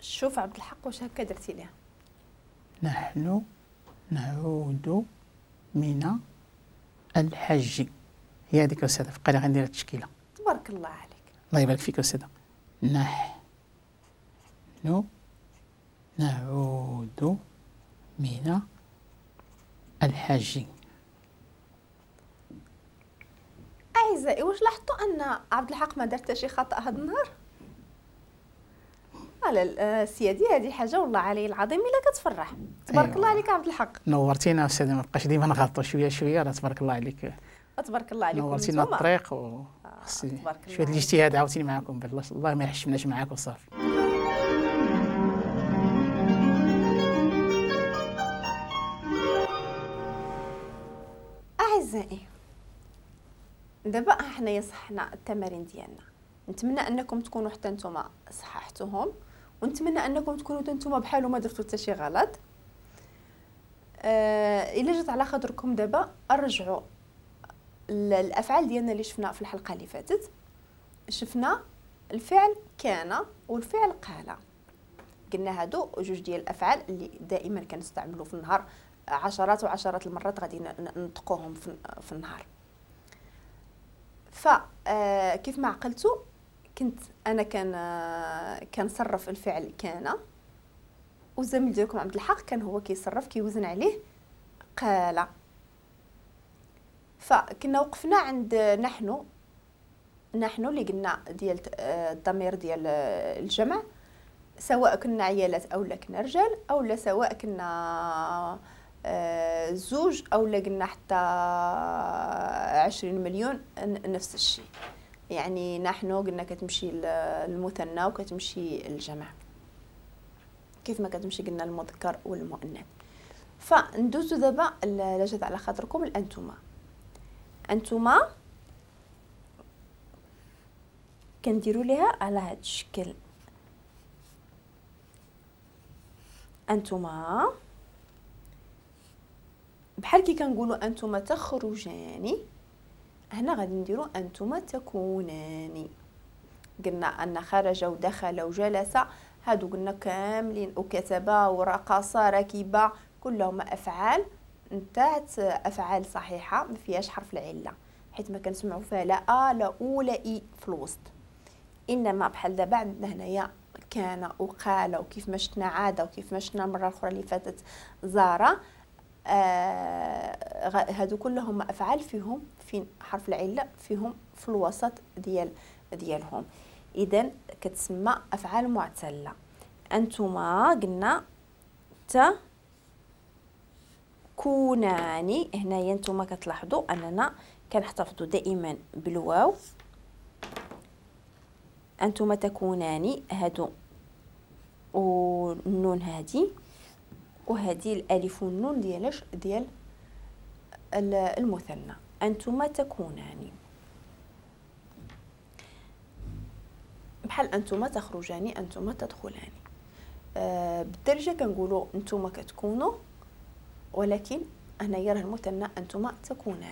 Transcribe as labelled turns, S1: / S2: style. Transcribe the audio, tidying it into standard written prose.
S1: شوف عبد الحق واش هكا درتي ليها.
S2: نحن نعود من الحج. هي هذيك أستاذة، بقى لي غندير التشكيلة.
S1: تبارك الله عليك.
S2: الله يبارك فيك أستاذة. نحن نعود من الحج.
S1: أعزائي واش لاحظتوا أن عبد الحق ما دار حتى شي خطأ هذا النهار؟ على سيادي هذه حاجة والله علي العظيم إلا كتفرح. تبارك الله عليك عبد الحق.
S2: نورتينا أستاذة، ما بقاش ديما نغلطوا شوية شوية، راه تبارك الله عليك.
S1: تبارك الله عليكم.
S2: نورتينا الطريق و خصني شوية الاجتهاد عاوتاني معاكم، بالله الله ما يحشمناش معاك وصافي.
S1: أعزائي دابا حنايا صحنا التمارين ديالنا، نتمنى انكم تكونوا حتى نتوما صححتوهم، ونتمنى انكم تكونوا حتى نتوما بحالو ما درتو حتى شي غلط. الا جات على خاطركم دابا ارجعوا الافعال ديالنا اللي شفنا في الحلقة اللي فاتت. شفنا الفعل كان والفعل قال، قلنا هادو جوج ديال الافعال اللي دائما كنستعملوا في النهار، عشرات وعشرات المرات غادي ننطقوهم في النهار. فكيف ما عقلتو كنت انا كنصرف الفعل كان، والزميل ديالكم عبد الحق كان هو كيصرف كيوزن عليه قال. فكنا وقفنا عند نحن اللي قلنا ديال الضمير ديال الجمع، سواء كنا عيالات او لا كنا رجال، او لا سواء كنا زوج او لا قلنا حتى 20 مليون، نفس الشيء. يعني نحن قلنا كتمشي المثنى وكتمشي الجمع كيف ما كتمشي قلنا المذكر والمؤنث. فندوزو دابا لا جات على خاطركم الانتما. انتما كنديروا ليها على هذا الشكل، انتما بحال كي كنقولوا انتما تخرجان، هنا غادي نديروا انتما تكونان. قلنا ان خرج ودخل وجلس هادو قلنا كاملين، وكتب ورقص ركب، كلهم افعال نتاعت افعال صحيحه ما فيهاش حرف العلة، حيت ما كنسمعوا فيها لا ا لا او لا اي في الوسط. انما بحال دابا عندنا هنايا كان وقال، وكيف ما شفنا عادة، وكيف ما شفنا المرة الاخرى اللي فاتت زاره، هادو كلهم افعال فيهم فين حرف العلة فيهم في الوسط ديالهم. اذا كتسمى افعال معتله. انتما قلنا تكونان، هنايا نتوما كتلاحظوا اننا كنحتفظوا دائما بالواو. انتما تكونان هادو والنون هادي، وهذه الالف والنون ديالاش ديال المثنى. انتما تكونان بحال انتما تخرجان، انتما تدخلان. بالدارجة كنقولوا انتما كتكونوا، ولكن هنايا راه المثنى انتما تكونان.